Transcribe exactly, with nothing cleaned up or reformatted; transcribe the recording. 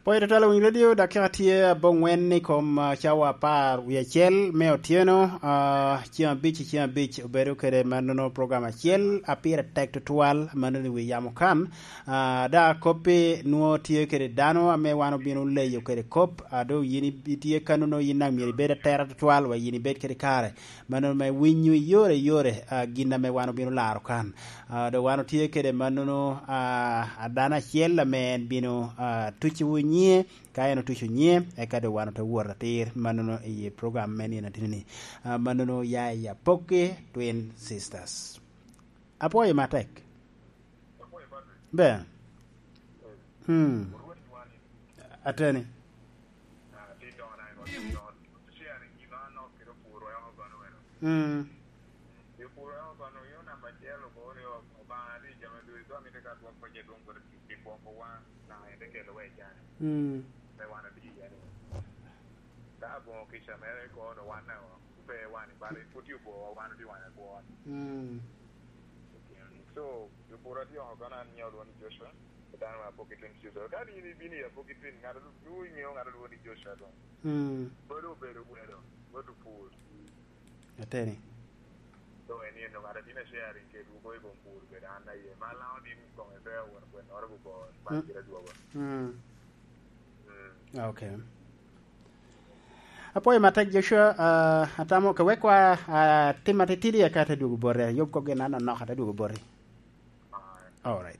Poyo twatwal Winyo Radio dakika tye abongwen i kom uh, cawa apar wiye acel me otyeno uh, ceng abic i ceng abic obedo kede ma nono program acel apire tek tutwal ma nono i wi yamo kan uh, da kopi nwo tye kede dano ame wan obino leyo kede kop uh, do yin itye kanono yin nang myero ibed atera tutwal wa yin ibed kede kare ma nono me winyo i yore yore uh, gin ame wan obino laro kan uh, do wan otye kede ma nono uh, adano acel ame en bino uh, tuci wu nyie ka en otuco nyie eka do wan ote wuot atir ma nono i program me nino atini uh, ma nono ya i Apoki Twin Sisters apoyo matek be hmm ateni mm mm mm So, jopur ati oko kono an nyiewo luongo ni Joshua, dhano ma Apoki Twin Sisters. Ka in ibino i Apoki Twin, ng'ato ing'eyo ng'ato luongo ni Joshua dong. mm Bedo obedo gwelo, bedo pur. ateni So en eno ng'ato tine sharing kedwu ko i kom pur bedo an aye. Ma lango din kong e pe wuon gwen oro gubo ban gira duogo. mm Mm. okay apoyo matek Joshua uh, atamo ka wek wa uh, tim atitidi eka te duogo bote yub ko gin anonok ate duogo boti Aye. all right